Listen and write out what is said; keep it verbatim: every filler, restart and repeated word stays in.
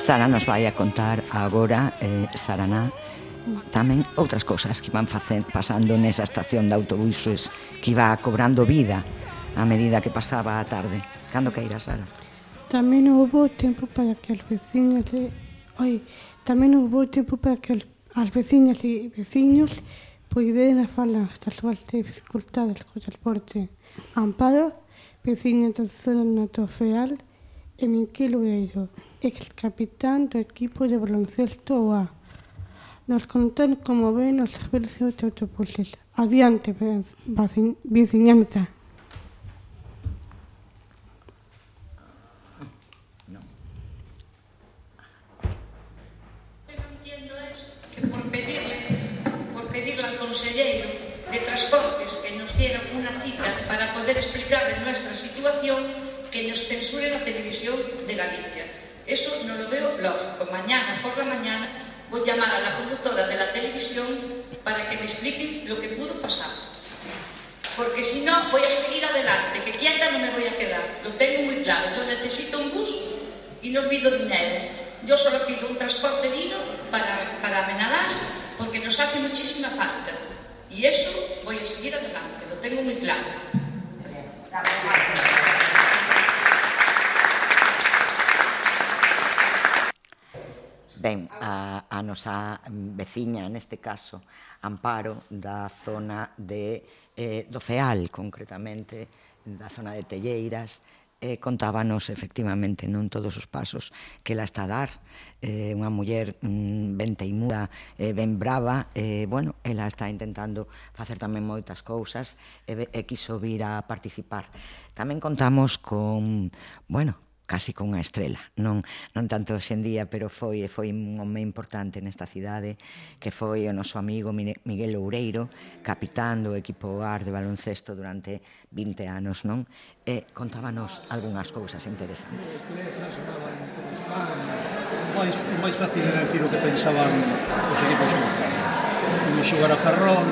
Sara nos vai a contar agora, eh, Saraná, tamén outras cousas que van facendo, pasando nesa estación de autobuses que iba cobrando vida a medida que pasaba a tarde. Cando queira, Sara? Tamén houve tempo para que os veciños e... Oi, tamén houve tempo para que as veciñas e veciños poideran falar das súas dificultades co transporte. Amparo, veciña da zona do Feal, e Miquel Oeiro, ex-capitán do equipo de baloncesto O A. Nos contan como ven os servicios de autobuses. Adiante, veciñanza. Por pedirle, por pedirle al consejero de Transportes que nos diera una cita para poder explicarles nuestra situación, que nos censure la televisión de Galicia. Eso no lo veo lógico. Mañana por la mañana voy a llamar a la conductora de la televisión para que me expliquen lo que pudo pasar. Porque si no, voy a seguir adelante, que quieta no me voy a quedar. Lo tengo muy claro. Yo necesito un bus y no pido dinero. Yo solo pido un transporte digno para, para Amenarás, porque nos hace muchísima falta. Y eso voy a seguir adelante, lo tengo muy claro. Ben, a, a nosa veciña, neste caso, Amparo, da zona de, eh, do Feal, concretamente, da zona de Telleiras, Eh, contábanos efectivamente non todos os pasos que ela está a dar, eh, unha muller mm, ben teimuda, eh, ben brava, eh, bueno, ela está intentando facer tamén moitas cousas e, e quiso vir a participar. Tamén contamos con, bueno, casi con unha estrela, non, non tanto hoxendía, pero foi foi un home importante nesta cidade, que foi o noso amigo Miguel Oureiro, capitán do equipo A R de baloncesto durante vinte anos, non? E contábanos algunhas cousas interesantes. O máis fácil era decir o que pensaban os equipos contrarios. Imos xogar a Ferrol,